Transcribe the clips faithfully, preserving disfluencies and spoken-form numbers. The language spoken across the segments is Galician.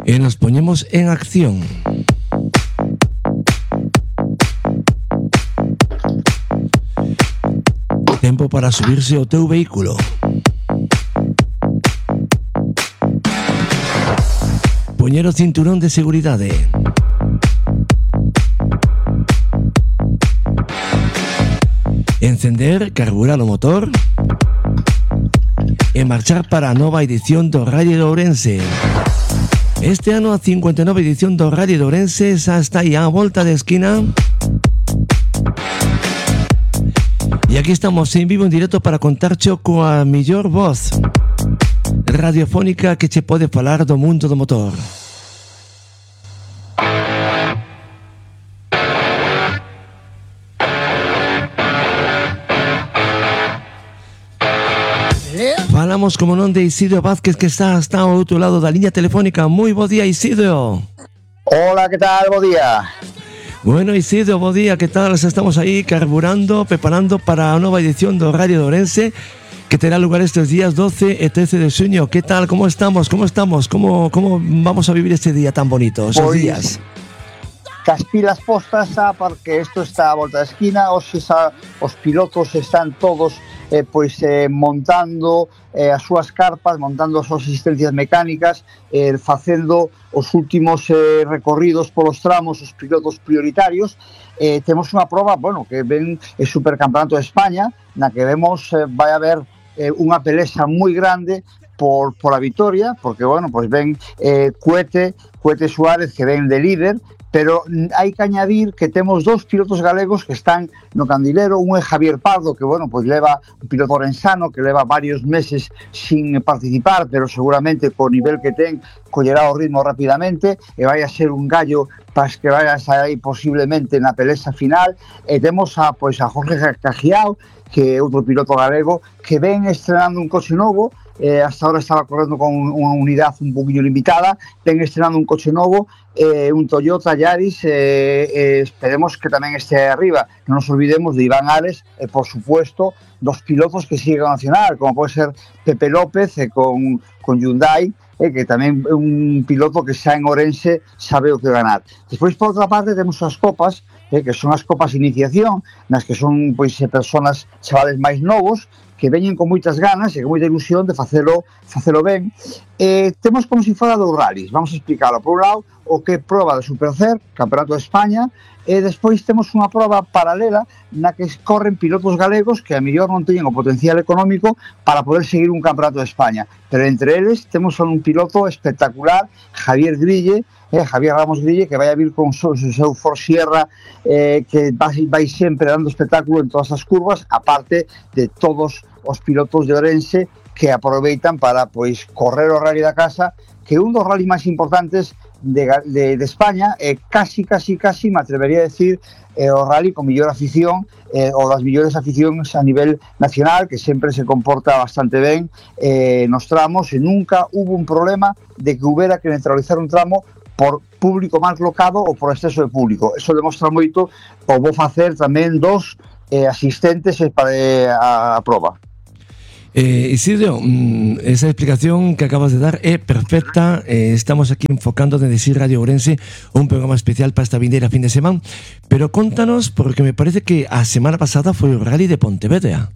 E nos poñemos en acción. Tempo para subirse ao teu vehículo. Poñer o cinturón de seguridade. Encender, carburar o motor e marchar para a nova edición do Rally de Ourense. Este ano a cincuenta e nove edición do Rally de Ourense xa está aí á volta de esquina. E aquí estamos en vivo en directo para contarcho coa mellor voz radiofónica que che pode falar do mundo do motor. Falamos, como non, de Isidro Vázquez, que está hasta ao outro lado da liña telefónica. Moi bo día, Isidro. Hola, que tal? Bo día. Bueno, Isidro, bo día, que tal? Estamos aí carburando, preparando para a nova edición do Rally de Ourense, que terá lugar estes días doce e trece de xuño. Que tal? Como estamos? Como estamos? Como, como vamos a vivir este día tan bonito, esos Pois, días? Cas pilas postas xa, porque isto está a volta da esquina. Hoxe xa os pilotos están todos eh, pois eh, montando eh, as súas carpas, montando as súas asistencias mecánicas, eh, facendo os últimos eh, recorridos polos tramos, os pilotos prioritarios. Eh, temos unha proba, bueno, que ven o Supercampeonato de España, na que vemos eh, vai haber eh, unha pelesa moi grande por, por a vitoria, porque, bueno, pois ven eh, Cuete, Cuete Suárez, que ven de líder, pero hai que añadir que temos dous pilotos galegos que están no candilero. Un é Javier Pardo, que, bueno, pois leva un piloto orensano que leva varios meses sin participar, pero seguramente co nivel que ten collerá o ritmo rapidamente e vai a ser un gallo para que vai a estar aí posiblemente na pelesa final. E temos a, pois, a Jorge Cajiao, que é outro piloto galego que ven estrenando un coche novo. Eh, hasta ahora estaba correndo con unha unidade un poquinho limitada, ven estrenando un coche novo, eh, un Toyota Yaris, eh, eh, esperemos que tamén este arriba. Non nos olvidemos de Iván Ares e, eh, por supuesto, dos pilotos que siguen a nacional, como pode ser Pepe López eh, con, con Hyundai, eh, que tamén é un piloto que xa en Ourense sabe o que ganar. Despois, por outra parte, temos as copas, eh, que son as copas de iniciación, nas que son, pois, personas, chavales máis novos, que veñen con moitas ganas e con moita ilusión de facelo, facelo ben. Eh, temos como se fora dos rallies. Vamos a explicarlo. Por un lado, o que é proba de Supercer, Campeonato de España, e despois temos unha proba paralela na que corren pilotos galegos que a mellor non teñen o potencial económico para poder seguir un Campeonato de España. Pero entre eles temos un piloto espectacular, Javier Grille, eh, Javier Ramos Grille, que vai a vir con o seu, seu Ford Sierra, eh, que vai, vai sempre dando espectáculo en todas as curvas, aparte de todos os pilotos de Ourense que aproveitan para, pois, correr o rally da casa, que é un dos rallies máis importantes de, de, de España, e casi, casi, casi, me atrevería a decir, eh, o rally con mellor afición, eh, ou das mellores aficións a nivel nacional, que sempre se comporta bastante ben eh, nos tramos, e nunca hubo un problema de que hubiera que neutralizar un tramo por público mal colocado ou por exceso de público. Eso demostra moito o vou facer tamén dos eh, asistentes para eh, a, a proba. Eh, Isidro, esa explicación que acabas de dar é perfecta. Eh, estamos aquí enfocando desde Sir Radio Ourense un programa especial para esta vindeira fin de semana, pero contanos, porque me parece que a semana pasada foi o Rally de Pontevedra.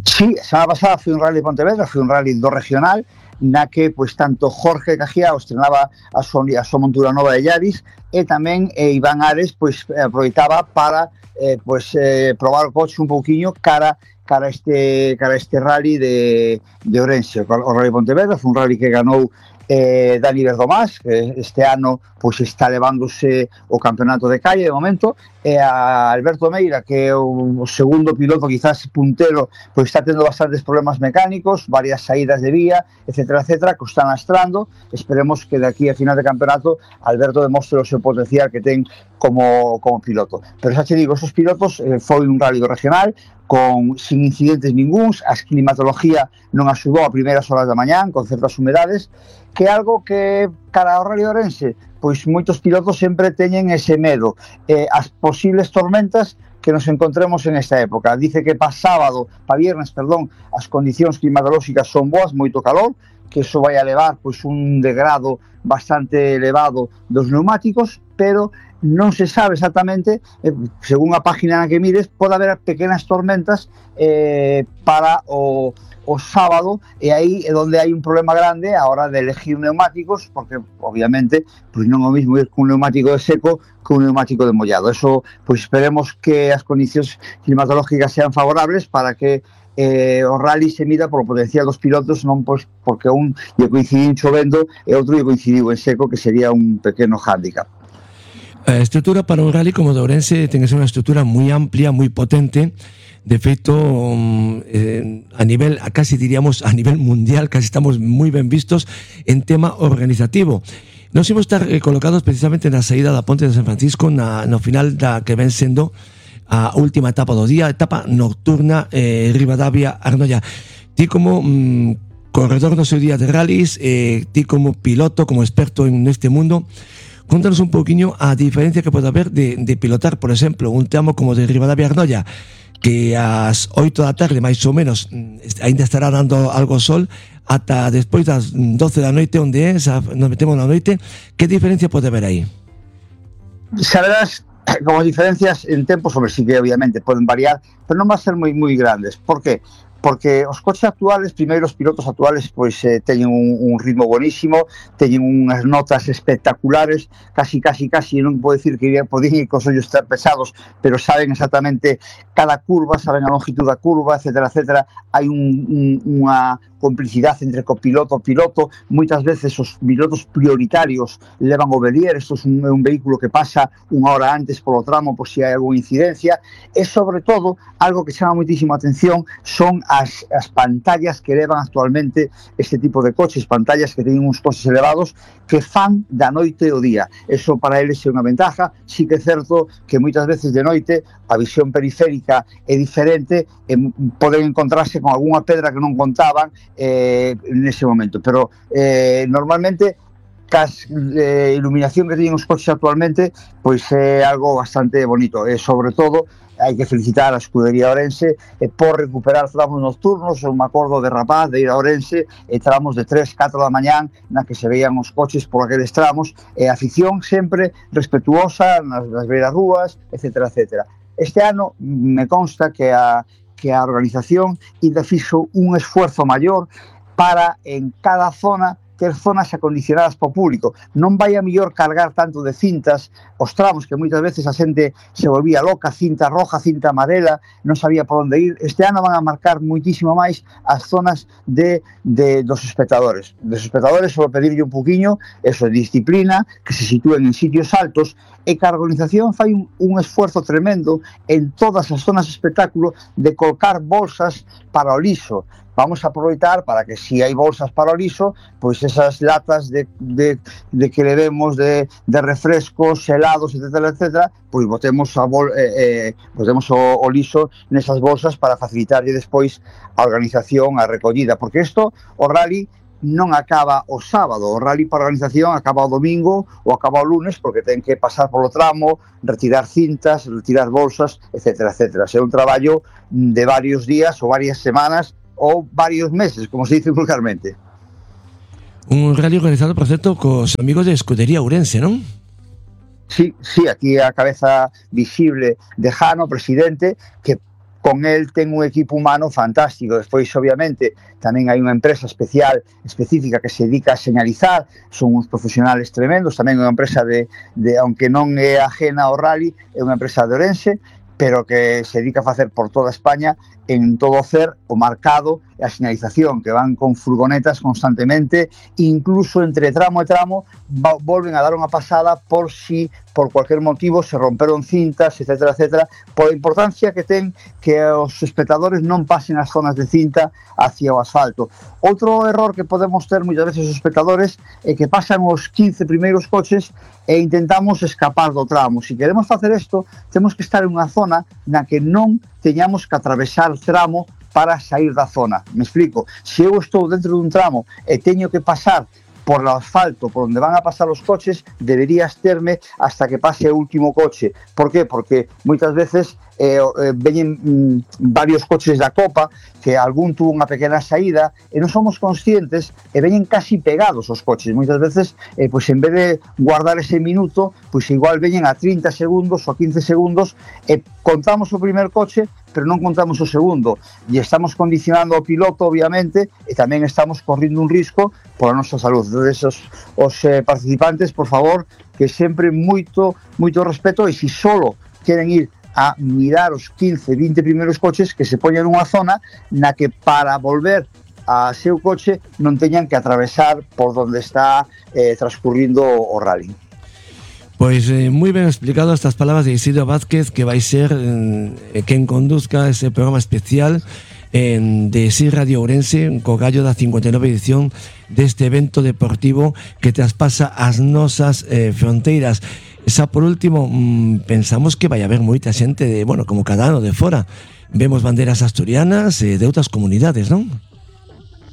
Sí, a semana pasada foi un Rally de Pontevedra, foi un Rally do regional, na que, pois, tanto Jorge Cajiao estrenaba a súa, a súa montura nova de Yaris, e tamén eh, Iván Ares, pois, aproveitaba para eh, pois, eh, probar o coche un pouquiño cara cara este cara este rally de, de Ourense. O Rally de Pontevedra foi un rally que ganou eh, Dani Verdomás, que este ano pois está levándose o campeonato de calle de momento, e a Alberto Meira, que é o, o segundo piloto, quizás puntero, pois está tendo bastantes problemas mecánicos, varias saídas de vía, etcétera, etcétera, que o están lastrando. Esperemos que de aquí a final de campeonato Alberto demostre o seu potencial que ten como, como piloto. Pero xa te digo, esos pilotos eh, foi un rally regional con sin incidentes ningúns, a climatología non axudou a primeiras horas da mañán, con certas humedades, que é algo que cara ao Rally Ourense, pois moitos pilotos sempre teñen ese medo, eh, as posibles tormentas que nos encontremos en esta época. Dice que pa sábado, pa viernes, perdón, as condicións climatolóxicas son boas, moito calor, que eso vai a levar pois un degrado bastante elevado dos neumáticos, pero non se sabe exactamente, eh, según a página na que mires, pode haber pequenas tormentas eh, para o, o sábado, e aí é onde hai un problema grande a hora de elegir neumáticos, porque obviamente pois non é o mismo ir cun neumático de seco que un neumático de mollado. Eso, pois esperemos que as condicións climatológicas sean favorables para que eh, o rally se mida polo potencial dos pilotos, non pois porque un lle coincidiu chovendo e outro lle coincidiu en seco, que sería un pequeno hándicap. A estrutura para un rally como o de Ourense ten que ser unha estrutura moi amplia, moi potente. De feito, eh, a nivel, a casi diríamos a nivel mundial, casi estamos moi ben vistos en tema organizativo. Nos imos estar eh, colocados precisamente na saída da Ponte de San Francisco, na, no final da que ven sendo a última etapa do día, etapa nocturna, eh, Ribadavia-Arnoia. Ti como mm, corredor no seu día de rallies, eh, ti como piloto, como experto en este mundo, contanos un poquinho a diferencia que pode haber de, de pilotar, por exemplo, un tramo como de Ribadavia-Arnoia, que ás oito da tarde, máis ou menos, ainda estará dando algo sol, ata despois das doce da noite, onde é, nos metemos na noite. Que diferencia pode haber aí? Saberás, como as diferencias en tempo, sobre sí que obviamente poden variar, pero non va a ser moi moi grandes. Por que? Porque os coches actuales, primeiro os pilotos actuales, pois eh, teñen un, un ritmo bonísimo, teñen unhas notas espectaculares, casi, casi, casi, non podo dicir que podían ir cos ollos estar pesados, pero saben exactamente cada curva, saben a longitud da curva, etcétera, etcétera. Hai un, un, unha complicidade entre copiloto e piloto. Moitas veces os pilotos prioritarios levan o Belier, isto é un, un vehículo que pasa unha hora antes polo tramo por si hai alguna incidencia, e sobre todo, algo que chama moitísima atención son as, as pantallas que levan actualmente este tipo de coches, pantallas que teñen uns coches elevados que fan da noite o día. Eso para eles é unha ventaja. Sí que é certo que moitas veces de noite a visión periférica é diferente, e poden encontrarse con algunha pedra que non contaban eh, nese momento, pero eh, normalmente cas eh, iluminación que teñen os coches actualmente pois é algo bastante bonito, e sobre todo hai que felicitar a Escudería Ourense eh, por recuperar tramos nocturnos. Eu me acordo de rapaz de ir a Ourense e tramos de tres, catro da mañán na que se veían os coches por aqueles tramos, e a afición sempre respetuosa nas, nas beiras rúas, etcétera, etcétera. Este ano me consta que a que a organización ainda fixo un esfuerzo maior para en cada zona ter zonas acondicionadas para o público. Non vai a mellor cargar tanto de cintas os tramos, que moitas veces a xente se volvía loca, cinta roja, cinta amarela, non sabía por onde ir. Este ano van a marcar moitísimo máis as zonas de, de dos espectadores. Dos espectadores, só pedirlle un poquinho, eso, de disciplina, que se sitúen en sitios altos, e que a organización fai un, un esfuerzo tremendo en todas as zonas de espectáculo de colocar bolsas para o liso. Vamos a aproveitar para que si hai bolsas para o liso, pois esas latas de, de, de que levemos de, de refrescos, helados, etcétera, etcétera, pois botemos, a bol, eh, eh, botemos o, o liso nesas bolsas para facilitarlle despois a organización, a recollida, porque isto, o rally, non acaba o sábado, o rally para a organización acaba o domingo ou acaba o lunes, porque ten que pasar polo tramo, retirar cintas, retirar bolsas, etcétera, etcétera. É un traballo de varios días ou varias semanas ou varios meses, como se dice vulgarmente. Un rally organizado, por certo, cos amigos de Escudería Ourense, non? Sí, sí, aquí a cabeza visible de Jano, presidente, que con el ten un equipo humano fantástico. Despois, obviamente, tamén hai unha empresa especial, específica, que se dedica a señalizar, son uns profesionales tremendos, tamén unha empresa de, de aunque non é ajena ao rally, é unha empresa de Ourense, pero que se dedica a facer por toda España en todo o C E R o marcado e a señalización, que van con furgonetas constantemente, incluso entre tramo e tramo volven a dar unha pasada por si por cualquier motivo se romperon cintas, etcétera, etcétera, por a importancia que ten que os espectadores non pasen as zonas de cinta hacia o asfalto. Outro error que podemos ter moitas veces os espectadores é que pasan os quince primeiros coches e intentamos escapar do tramo. Se queremos facer isto, temos que estar en unha zona na que non teñamos que atravesar o tramo para sair da zona. Me explico. Se eu estou dentro dun tramo e teño que pasar por o asfalto por onde van a pasar os coches, deberías terme hasta que pase o último coche. Por qué? Porque moitas veces eh, eh, veñen mm, varios coches da Copa, que algún tuvo unha pequena saída, e non somos conscientes, e veñen casi pegados os coches. Moitas veces, eh, pois en vez de guardar ese minuto, pois igual veñen a trinta segundos ou a quince segundos, e contamos o primer coche, pero non contamos o segundo, e estamos condicionando ao piloto, obviamente, e tamén estamos correndo un risco pola nosa salud. Entonces, os, os eh, participantes, por favor, que sempre moito, moito respeto, e se solo queren ir a mirar os quince, vinte primeiros coches, que se poñan nunha zona na que para volver a seu coche non teñan que atravesar por donde está eh, transcurrindo o rally. Pues eh, muy bien explicado estas palabras de Isidro Vázquez, que va a ser eh, quien conduzca ese programa especial en, de S I Radio Ourense, co gallo da cincuenta y nueve edición deste evento deportivo que traspasa as nosas eh, fronteiras. Xa por último, mmm, pensamos que vai haber moita xente de, bueno, como cada ano de fora. Vemos banderas asturianas e eh, de outras comunidades, non?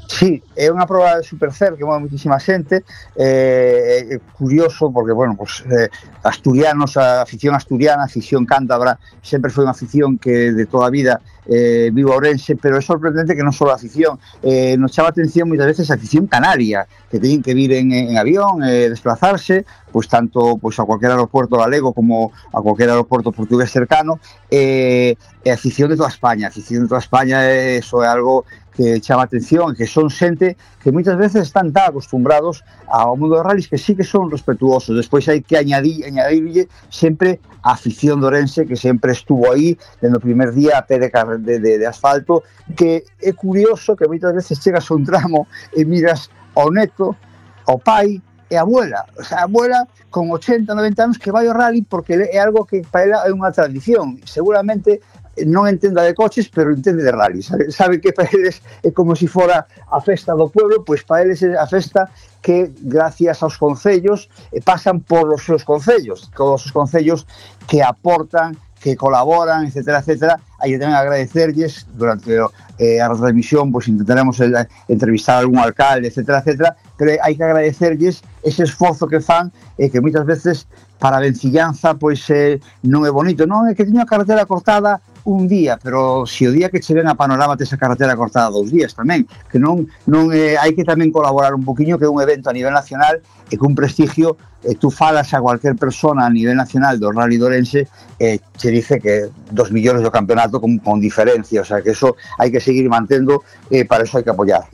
Sí, é unha proba de Supercer que move moitísima xente, eh, é curioso porque, bueno, pues, eh, asturianos, a afición asturiana, a afición cántabra, sempre foi unha afición que de toda a vida eh, vivo a Ourense, pero é sorprendente que non só a afición, eh, nos chama a atención moitas veces a afición canaria, que teñen que vir en, en avión, eh, desplazarse, pois tanto pois a cualquier aeropuerto galego como a cualquier aeropuerto portugués cercano, eh, e a afición de toda España, a afición de toda España, eh, eso é algo que chama a atención, que son xente que moitas veces están tan acostumbrados ao mundo dos rallies que sí que son respetuosos. Despois hai que añadir, añadirlle sempre a afición de Ourense, que sempre estuvo aí dende o primer día a pé de, de, de, de asfalto, que é curioso que moitas veces chegas a un tramo e miras ao neto, ao pai e a abuela, o sea, a abuela con ochenta, noventa anos que vai ao rally porque é algo que para ela é unha tradición. Seguramente non entenda de coches, pero entende de rally, sabe, sabe que para eles é como se fora a festa do pueblo, pois para eles é a festa que gracias aos concellos eh, pasan por os seus concellos, todos os concellos que aportan, que colaboran, etcétera, etcétera. Hai que tamén agradecerlles durante eh, a retransmisión, pois intentaremos eh, entrevistar a algún alcalde, etcétera, etcétera, pero hai que agradecerlles ese esforzo que fan e eh, que moitas veces para a vencillanza pois eh, non é bonito, non é que teño a carretera cortada un día, pero se o día que che ven a panorama tes a carretera cortada dous días tamén, que non non eh, hai que tamén colaborar un poquinho, que é un evento a nivel nacional e que un prestigio, eh, tú falas a cualquier persona a nivel nacional do Rally de Ourense e eh, che dice que dos millóns do campeonato con, con diferencia, o sea que eso hai que seguir mantendo, eh, para eso hai que apoiar.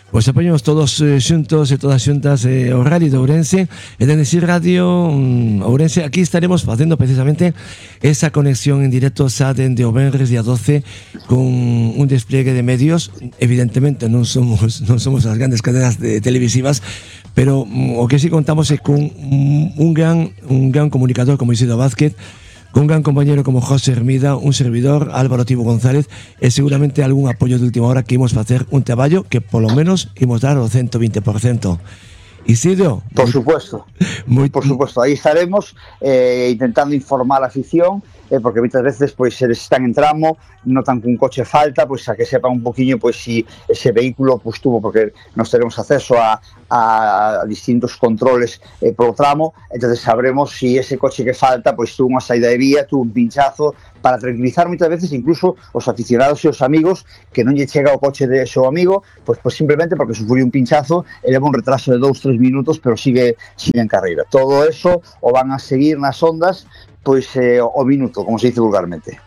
Pois apoñamos todos eh, xuntos e todas xuntas eh, o Rally de Ourense e dende S I Radio um, Ourense. Aquí estaremos facendo precisamente esa conexión en directo xa dende o venres día doce con un despliegue de medios. Evidentemente non somos non somos as grandes cadenas de televisivas, pero um, o que sí contamos é con un, un gran un gran comunicador como Isidro Vázquez, con un gran compañero como José Hermida, un servidor, Álvaro Tibo González, e seguramente algún apoio de última hora que imos facer un traballo que polo menos imos dar o ciento veinte por ciento. Isidro, por supuesto, muy, por supuesto, aí estaremos eh, intentando informar a afición, eh, porque muchas veces pois se están en tramo, notan que un coche falta, pois a que sepan un poquinho pois si ese vehículo pois tuvo, porque nos teremos acceso a, a, a distintos controles eh, por tramo, entonces sabremos si ese coche que falta pois tuvo unha saída de vía, tuvo un pinchazo, para tranquilizar moitas veces incluso os aficionados e os amigos que non lle chega o coche de seu amigo, pois, pois simplemente porque sufriu un pinchazo e leva un retraso de dous, tres minutos, pero sigue, sigue en carreira. Todo eso o van a seguir nas ondas pois eh, o minuto, como se dice vulgarmente.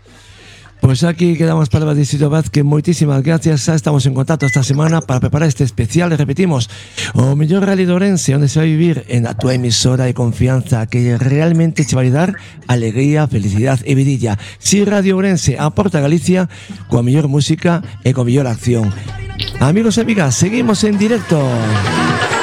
Pois aquí quedamos palabras de Isidro Vázquez. Moitísimas gracias, xa estamos en contacto esta semana para preparar este especial, e repetimos, o mellor Rally de Ourense, onde se vai vivir en a túa emisora de confianza que realmente che vai dar alegría, felicidade e vidilla. Si Radio Ourense aporta a Galicia coa mellor música e coa mellor acción. Amigos e amigas, seguimos en directo.